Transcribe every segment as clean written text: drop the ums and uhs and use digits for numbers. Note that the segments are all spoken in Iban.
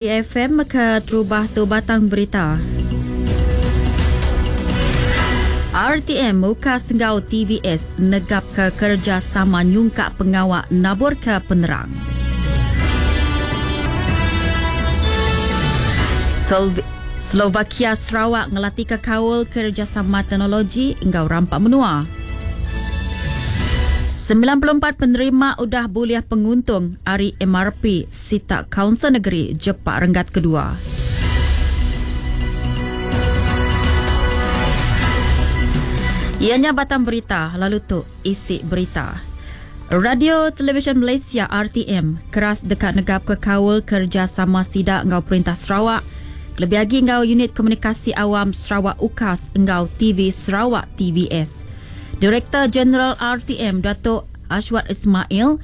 FM ke terubah tu batang berita. RTM muka senggau TVS negap ke kerjasama nyungkak pengawak nabur ke penerang. Slovakia Sarawak ngelatih ke kaul kerjasama teknologi enggau rampak menua. 94 penerima udah bulih penguntung ari MRP Sitak Kaunsil Negeri Jepak Renggat Kedua. Ianya batang berita lalu tu isi berita. Radio Televisyen Malaysia RTM keras dekat negap ke kaul kerjasama sidak enggau Perintah Sarawak lebih lagi enggau Unit Komunikasi Awam Sarawak UKAS enggau TV Sarawak TVS. Direktor Jeneral RTM Datuk Ashwad Ismail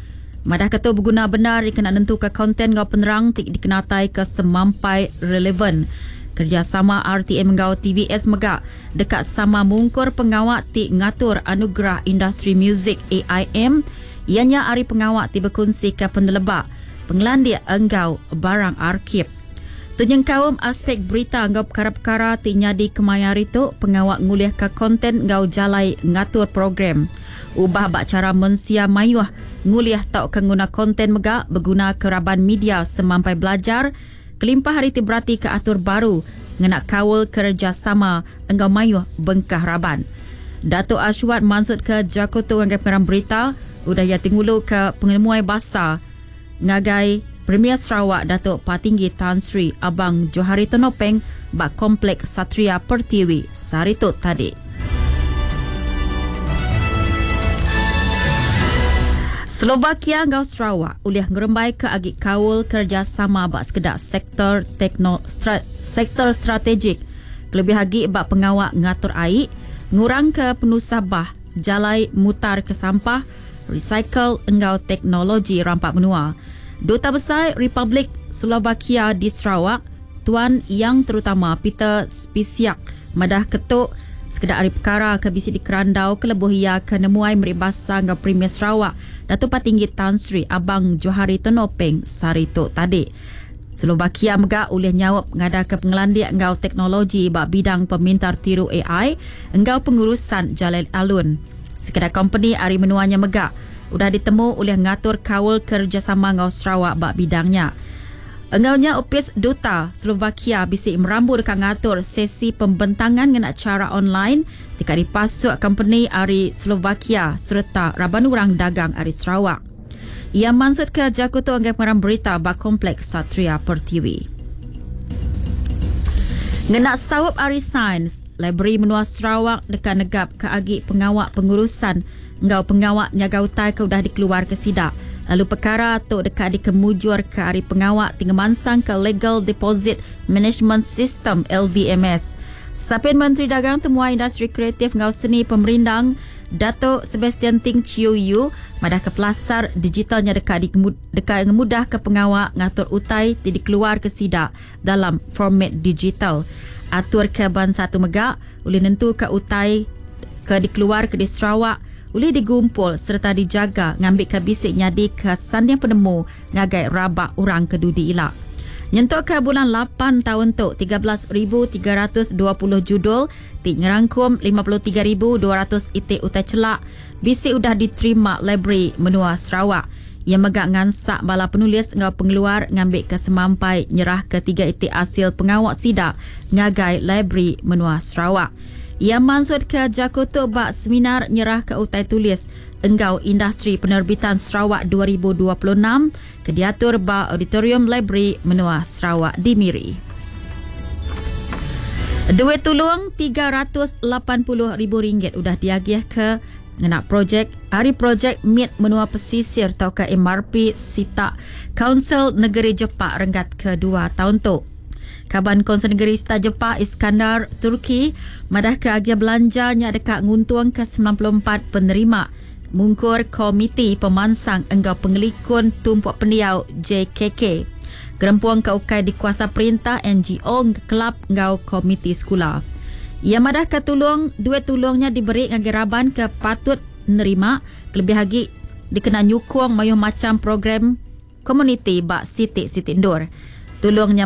madah ketu berguna benar dikena nentu ke konten enggau penerang ti dikenatai ke semampai relevan. Kerjasama RTM enggau TVS mega dekat sama mungkur pengawak ti ngatur anugerah industri muzik AIM ianya ari pengawak ti berkongsi ke penelebak pengelandik enggau barang arkib. Tunyeng kaum aspek berita enggau perkara-perkara ti nyadi kemaya hari tu pengawak ngulih ke konten enggau jalai ngatur program. Ubah bak cara mensia mayuh ngulih tau ke nguna konten mega berguna ke raban media semampai belajar kelimpah hari ti berarti ke atur baru ngena kaul kerjasama enggau mayuh bengkah raban. Datuk Ashwad maksud ke Jakoto ngagai pengarang berita udah ia tingulu ke pengemuai basa ngagai Premier Sarawak Datuk Patinggi Tan Sri Abang Johari Tonopeng bak Komplek Satria Pertiwi Saritut tadi. Slovakia enggau Sarawak ulih ngerembai ke agi kaul kerjasama bak sekedak sektor tekno sektor strategik lebih agi bak pengawak ngatur air ngurang ke penusah bah jalai mutar ke sampah recycle enggau teknologi rampak menua. Duta Besar Republik Slovakia di Sarawak, Tuan Yang Terutama Peter Spisiak madah ketuk sekedar hari perkara ke bisi di Kerandau ke lebuh ia ke nemuai meri basa enggau Premier Sarawak Datuk Patinggi Tan Sri Abang Johari Tonopeng Sari tu tadi. Slovakia mega ulih nyaup ngada ke pengelandik enggau teknologi ba bidang pemintar tiru AI enggau pengurusan jalai alun. Sekedar company ari menuanya mega udah ditemu oleh ngatur kaul kerjasama enggau Sarawak ba bidangnya. Enggaunya Opis Duta Slovakia bisi merambu dekat ngatur sesi pembentangan ngena cara online dekat dipasuk company ari Slovakia serta raban orang dagang ari Sarawak. Ia maksud ke Jakoto anggai pengarang berita ba Kompleks Satria Pertiwi. Ngena sawap ari sains, Library Menua Sarawak dekat negap ke agi pengawak pengurusan enggau pengawak nyaga utai ke udah dikeluar ke sidak. Lalu perkara tu dekat dikemujur ke hari pengawak tinggi ke Legal Deposit Management System LDMS. Sapin Menteri Dagang Temuai Industri Kreatif enggau Seni Pemerindang Datuk Sebastian Ting Chiu Yu madah ke pelasar digitalnya dekat dekat ngemudah ke pengawak ngatur utai ti dikeluar ke sidak dalam format digital. Atur ke ban satu mega boleh nentu ke utai ke dikeluar ke di Sarawak boleh digumpul serta dijaga ngambil ke bisik nyadi ke sanding penemu ngagai rabak orang ke dudi ilak. Nyentuk ke bulan 8 tahun tu 13,320 judul ti ngerangkum 53,200 itik utai celak bisik udah diterima library menua Sarawak. Yang megak ngansak bala penulis enggau pengeluar ngambil ke semampai nyerah ke tiga itik hasil pengawak sidak ngagai library menua Sarawak. Ia maksud ke Jakoto bak seminar nyerah ke utai tulis enggau industri penerbitan Sarawak 2026 ke diatur ba Auditorium Library Menua Sarawak di Miri. Duit tulung RM380,000 udah diagih ke ngena projek hari projek MIT Menua Pesisir atau ke MRP Sitak Kaunsil Negeri Jepak renggat kedua tahun tu. Kaban Konsel Negeri Sita Jepak Iskandar Turki madah ke agia belanjanya dekat nguntung ke 94 penerima mungkur Komiti Pemansang enggau Pengelikun Tumpuk Pendiau JKK. Gerempuan ke ukai di kuasa perintah NGO kelab enggau Komiti Sekolah. Ia madah ke tulung, duit tulungnya diberi ngagai raban ke patut nerima lebih lagi dikena nyukung mayuh macam program komuniti bak Siti Siti Ndur. Tulung nya.